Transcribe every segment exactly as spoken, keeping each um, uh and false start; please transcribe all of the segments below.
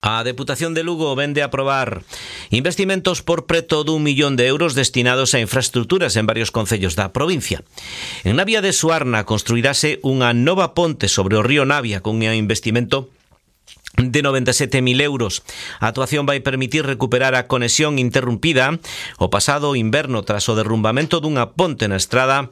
A Deputación de Lugo vende a aprobar investimentos por preto dun millón de euros destinados a infraestructuras en varios concellos da provincia. En Navia de Suarna construirase unha nova ponte sobre o río Navia con un investimento de noventa e sete mil euros. A actuación vai permitir recuperar a conexión interrumpida o pasado inverno tras o derrumbamento dunha ponte na estrada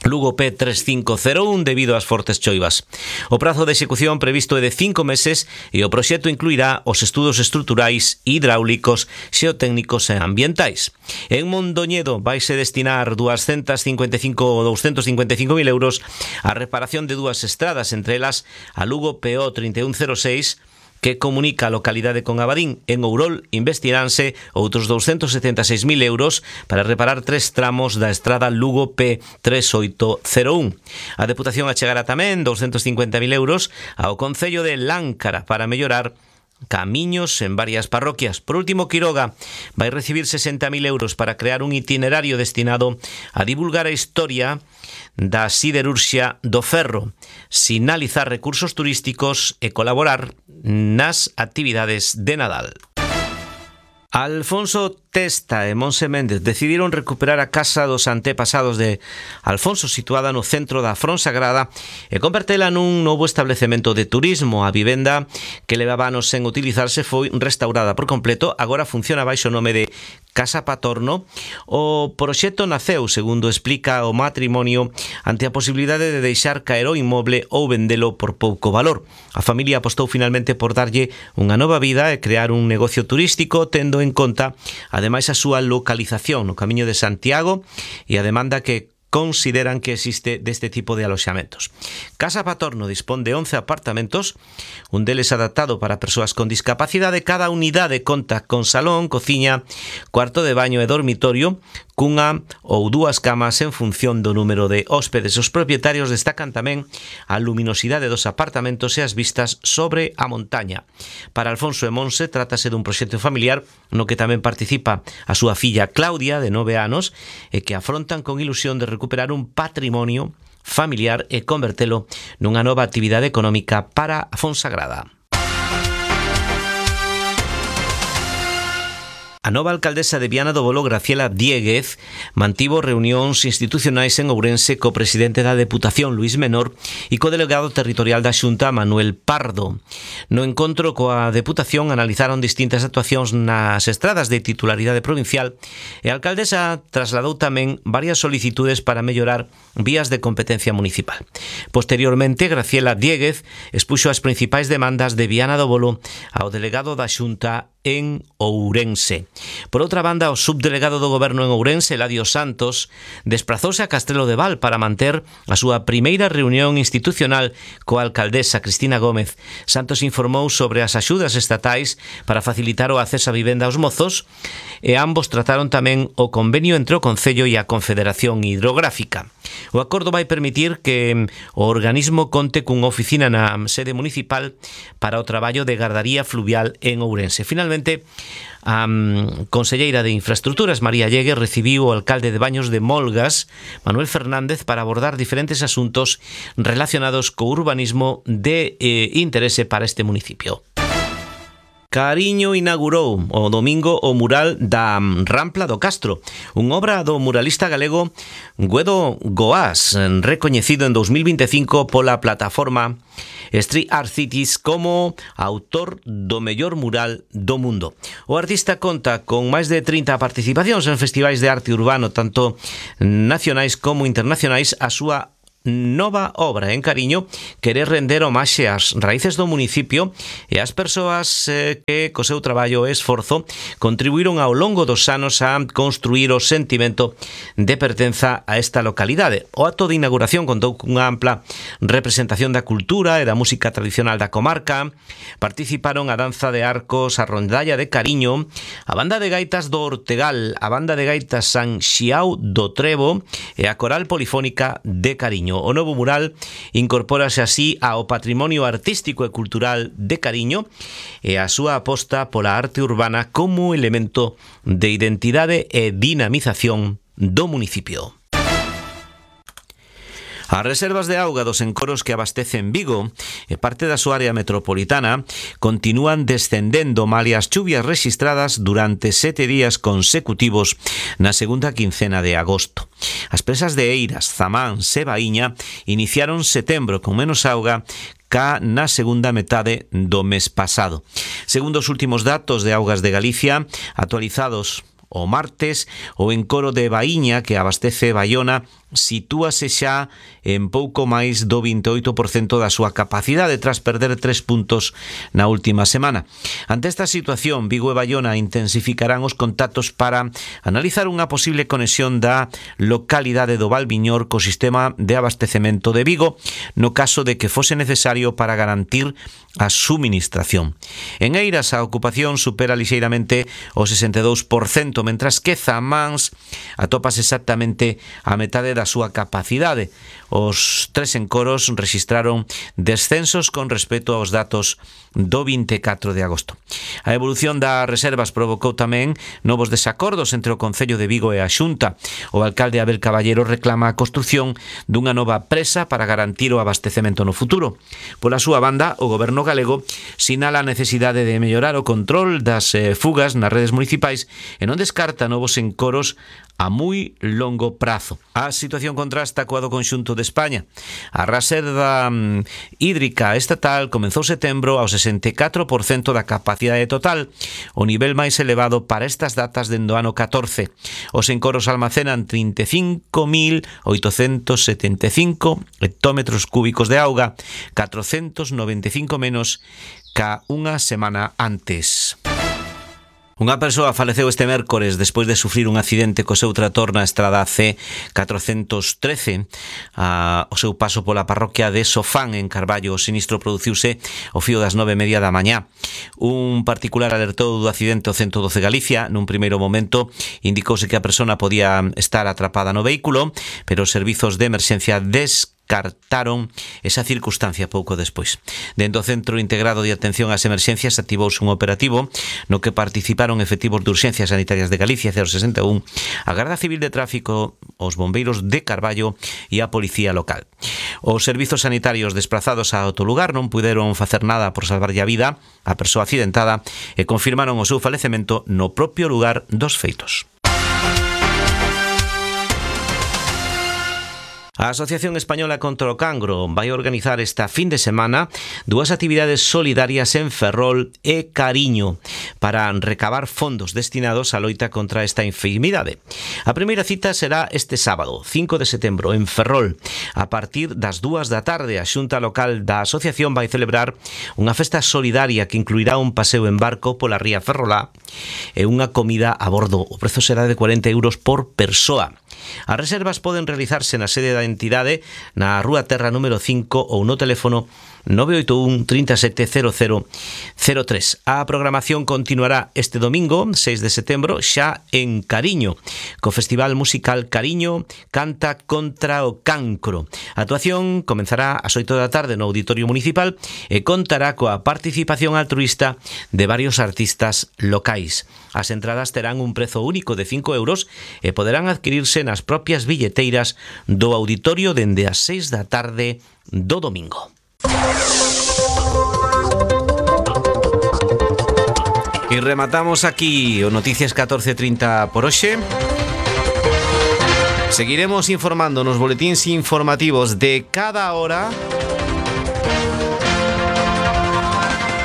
Lugo P tres cinco cero un debido ás fortes choivas. O prazo de execución previsto é de cinco meses e o proxecto incluirá os estudos estruturais, hidráulicos, xeotécnicos e ambientais. En Mondoñedo vaise destinar doscientos cincuenta e cinco ou doscientos cincuenta e cinco mil euros a reparación de dúas estradas, entre elas a Lugo P O treinta e un cero seis, que comunica a localidade con Abadín. En Ourol investiránse outros doscientos setenta e seis mil euros para reparar tres tramos da estrada Lugo P tres oito cero un. A Deputación achegará tamén doscientos cincuenta mil euros ao Concello de Láncara para mellorar camiños en varias parroquias. Por último, Quiroga vai recibir sesenta mil euros para crear un itinerario destinado a divulgar a historia da siderurxia do ferro, sinalizar recursos turísticos e colaborar nas actividades de Nadal. Alfonso Testa e Monse Méndez decidiron recuperar a casa dos antepasados de Alfonso, situada no centro da Fonsagrada, e convertela nun novo establecemento de turismo. A vivenda, que levaba anos sen utilizarse, foi restaurada por completo. Agora funciona baixo o nome de Casa Patorno. O proxecto naceu, segundo explica o matrimonio, ante a posibilidade de deixar caer o inmoble ou vendelo por pouco valor. A familia apostou finalmente por darlle unha nova vida e crear un negocio turístico, tendo en conta ademais a súa localización no Camiño de Santiago e a demanda que consideran que existe deste tipo de aloxamentos. Casa Patorno dispón de once apartamentos, un deles adaptado para persoas con discapacidade. Cada unidade conta con salón, cociña, cuarto de baño e dormitorio, cunha ou dúas camas en función do número de hóspedes. Os propietarios destacan tamén a luminosidade dos apartamentos e as vistas sobre a montaña. Para Alfonso e Monse trátase dun proxecto familiar no que tamén participa a súa filla Claudia, de nove anos, e que afrontan con ilusión de recuperar un patrimonio familiar e convertelo nunha nova actividade económica para a Fonsagrada. A nova alcaldesa de Viana do Bolo, Graciela Diéguez, mantivo reunións institucionais en Ourense co presidente da Deputación, Luís Menor, e co delegado territorial da Xunta, Manuel Pardo. No encontro coa Deputación analizaron distintas actuacións nas estradas de titularidade provincial e a alcaldesa trasladou tamén varias solicitudes para mellorar vías de competencia municipal. Posteriormente, Graciela Diéguez expuxo as principais demandas de Viana do Bolo ao delegado da Xunta en Ourense. Por outra banda, o subdelegado do Goberno en Ourense, Eladio Santos, desprazouse a Castrelo de Val para manter a súa primeira reunión institucional coa alcaldesa Cristina Gómez. Santos informou sobre as axudas estatais para facilitar o acceso a vivenda aos mozos e ambos trataron tamén o convenio entre o Concello e a Confederación Hidrográfica. O acordo vai permitir que o organismo conte cunha oficina na sede municipal para o traballo de gardaría fluvial en Ourense. Finalmente, a um, conselleira de Infraestructuras, María Llegue, recibiu o alcalde de Baños de Molgas, Manuel Fernández, para abordar diferentes asuntos relacionados co urbanismo de eh, interese para este municipio. Cariño inaugurou o domingo o mural da Rampla do Castro, unha obra do muralista galego Guedo Goás, recoñecido en dous mil vinte e cinco pola plataforma Street Art Cities como autor do mellor mural do mundo. O artista conta con máis de trinta participacións en festivais de arte urbano, tanto nacionais como internacionais. A súa nova obra en Cariño quere render homaxe ás raíces do municipio e ás persoas eh, que co seu traballo e esforzo contribuíron ao longo dos anos a construir o sentimento de pertenza a esta localidade. O acto de inauguración contou cunha ampla representación da cultura e da música tradicional da comarca. Participaron a danza de arcos, a rondalla de Cariño, a banda de gaitas do Ortegal, a banda de gaitas San Xiao do Trevo e a coral polifónica de Cariño. O novo mural incorpórase así ao patrimonio artístico e cultural de Cariño e a súa aposta pola arte urbana como elemento de identidade e dinamización do municipio. As reservas de auga dos encoros que abastecen Vigo e parte da súa área metropolitana continúan descendendo malia as chuvias rexistradas durante sete días consecutivos na segunda quincena de agosto. As presas de Eiras, Zamán e Baíña iniciaron setembro con menos auga cá na segunda metade do mes pasado. Segundo os últimos datos de Augas de Galicia, actualizados o martes, o encoro de Baíña, que abastece Baiona, sitúase xa en pouco máis do vinte e oito por cento da súa capacidade tras perder tres puntos na última semana. Ante esta situación, Vigo e Baiona intensificarán os contactos para analizar unha posible conexión da localidade do Valviñor co sistema de abastecemento de Vigo, no caso de que fose necesario para garantir a suministración. En Eiras a ocupación supera lixeiramente o sesenta e dous por cento, mentras que Zamáns atopas exactamente a metade da súa capacidade. Os tres encoros rexistraron descensos con respecto aos datos do vinte e catro de agosto. A evolución das reservas provocou tamén novos desacordos entre o Concello de Vigo e a Xunta. O alcalde Abel Caballero reclama a construción dunha nova presa para garantir o abastecemento no futuro. Pola súa banda, o goberno galego sinala a necesidade de mellorar o control das eh, fugas nas redes municipais e non descarta novos encoros a moi longo prazo. A situación contrasta coa do conxunto de España. A reserva mm, hídrica estatal comezou setembro ao sesenta e catro por cento da capacidade total, o nivel máis elevado para estas datas dende o ano catorce. Os encoros almacenan trinta e cinco mil oitocentos setenta e cinco hectómetros cúbicos de auga, catrocentos noventa e cinco menos ca unha semana antes. Unha persoa faleceu este mércores despois de sufrir un accidente co seu trator na estrada C catrocentos trece a, o seu paso pola parroquia de Sofán en Carballo. O sinistro produciuse ao fío das nove e media da mañá. Un particular alertou do accidente ao ciento doce Galicia. Nun primeiro momento indicouse que a persona podía estar atrapada no vehículo, pero os servizos de emerxencia des cartaron esa circunstancia pouco despois. Dentro do Centro Integrado de Atención ás Emerxencias activouse un operativo no que participaron efectivos de Urxencias Sanitarias de Galicia cero sesenta e un, a Garda Civil de Tráfico, os bombeiros de Carballo e a Policía Local. Os servizos sanitarios desprazados a outro lugar non puderon facer nada por salvarlle a vida a persoa accidentada e confirmaron o seu falecemento no propio lugar dos feitos. A Asociación Española contra o Cancro vai organizar esta fin de semana dúas actividades solidarias en Ferrol e Cariño para recabar fondos destinados á loita contra esta enfermidade. A primeira cita será este sábado, cinco de setembro, en Ferrol. A partir das dúas da tarde, a Xunta Local da Asociación vai celebrar unha festa solidaria que incluirá un paseo en barco pola ría Ferrolá e unha comida a bordo. O prezo será de cuarenta euros por persoa. As reservas poden realizarse na sede da entidade na Rúa Terra número cinco ou no teléfono nove oito un, trinta e sete, cero cero cero tres. A programación continuará este domingo, seis de setembro, xa en Cariño, co Festival Musical Cariño Canta contra o Cancro. A actuación comenzará ás oito da tarde no Auditorio Municipal e contará coa participación altruísta de varios artistas locais. As entradas terán un prezo único de cinco euros e poderán adquirirse nas propias billeteiras do auditorio dende as seis da tarde do domingo. E rematamos aquí o Noticias catorce trinta por hoxe. Seguiremos informando nos boletíns informativos de cada hora.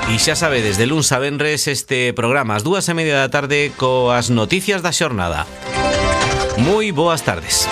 E xa sabedes, de luns a venres este programa ás dúas e media da tarde coas noticias da xornada. Moi boas tardes.